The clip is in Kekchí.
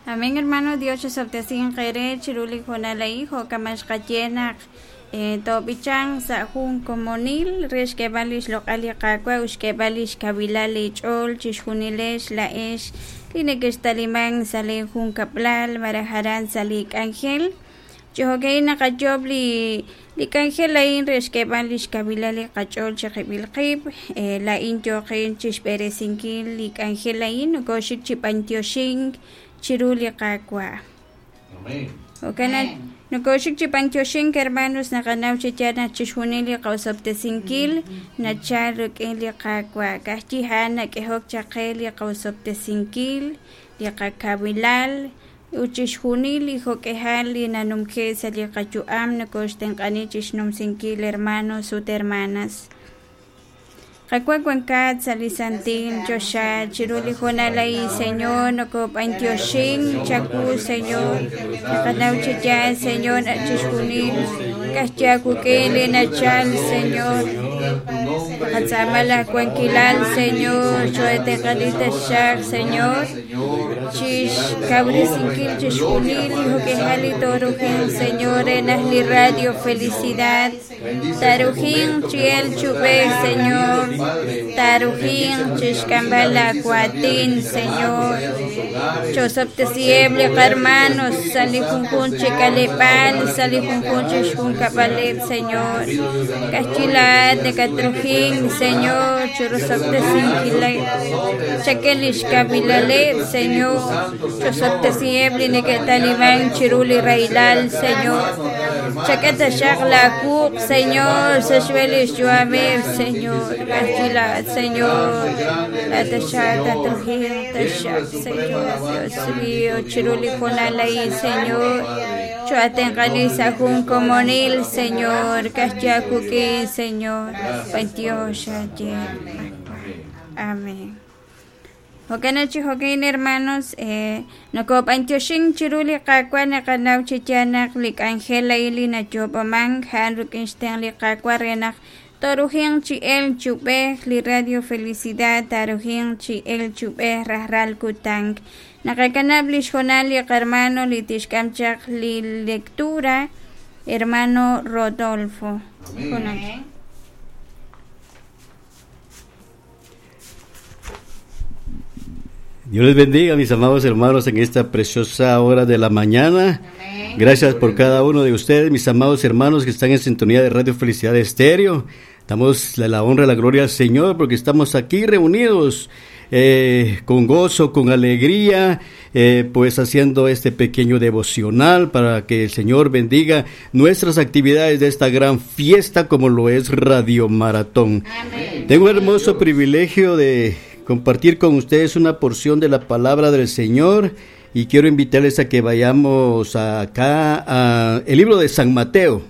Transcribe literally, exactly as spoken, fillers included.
Amén, hermano. Dios chisob'tesinq eere chiru li hoonal a'in jo' kama' xqaye naq toob'ichanq sa' jun komonil re xk'eeb'al li xloq'al li Qaawa' ut xk'eeb'al li xkawilal leech'ool chixjunilex laa'ex li nekextaliman sa' lee junkab'lal malaj aran sa' li k'anjel. Chi jo'ka'in naqayoob' li li k'anjel a'in re xk'eeb'al li xkawilal li qach'ool chiqib'il qib'. Laa'in yooqin chixb'eresinkil li k'anjel a'in nokoxik chi b'antioxink chiru li Qaawa'. Amén. Jo'kan nokoxik chi b'antioxink, hermanos, naqanaw chi yaal naq chixjunil li qawsob'tesinkil nachal rik'in li Qaawa'. Ka'ajwi' a'an nak'ehok chaq qe li qawsob'tesinkil, li qakawilal ut chixjunil li jo'k'ejal li nanumje' sa' li qayu'am nokoxtenq'ani chixnumsinkil, hermanos ut hermanas. Qaawa' wankat sa' li santil choxa chiru li hoonal a'in, Señor, nokob'antioxink chawu, Señor. Naqanaw chi yaal, Señor, naq chixjunil ka'ajwi' aawik'in li nachal, Señor. Naqatz'aama laj wankilal, Señor, cho'etenq'ani taxaq, Señor, chixkawresinkil chixjunil li jo'k'ejal li toorujin, Señor, re naq li Radio Felicidad tarujin chi el chub'ej, Señor, tarujin chixk'amb'al laawatin, Señor. Chosob'tesiheb' li qarmanos sa' li junjunq chi k'aleb'aal, sa' li junjunq chi xjunkab'aleb', Señor. Ka'ajwi' laa'at nakatrujin, Señor, churusob'tesinkileb'. Chak'e li xkawilaleb', Señor. Chosob'tesiheb' li neke'taliman chiru li rahilal, Señor. Chak'e taxaq laawuq', Señor, sa' xb'een li xyu'ameb', Señor. Ka'ajwi' laa'at, Señor. Laa'at taxaq tatrujin taxaq, Señor. Dios mío, chiru li hoonal a'in, Señor. Cho'atenq'ani sa' jun komonil, Señor. Ka'ajwi' aawik'in, Señor. B'antiox aye. Amén. Jo'kan chi jo'kan, hermanos, eh, nokob'antioxink chiru li Qaawa' naqanaw chi yaal naq li k'anjel a'in li nayoob'aman a'an rik'in xtenq' li Qaawa' re naq torujinq chi el chub'ej li Radio Felicidad tarujinq chi el chub'ej rajlal kutan. Naqakanab' li xhoonal li qarmano li tixk'am chaq li lectura, hermano Rodolfo. Amén. Dios les bendiga, mis amados hermanos, en esta preciosa hora de la mañana. Amén. Gracias por cada uno de ustedes, mis amados hermanos que están en sintonía de Radio Felicidad Estéreo. Damos la, la honra y la gloria al Señor porque estamos aquí reunidos eh, con gozo, con alegría, eh, pues haciendo este pequeño devocional para que el Señor bendiga nuestras actividades de esta gran fiesta como lo es Radio Maratón. Amén. Tengo el hermoso privilegio de compartir con ustedes una porción de la palabra del Señor y quiero invitarles a que vayamos acá a el libro de San Mateo.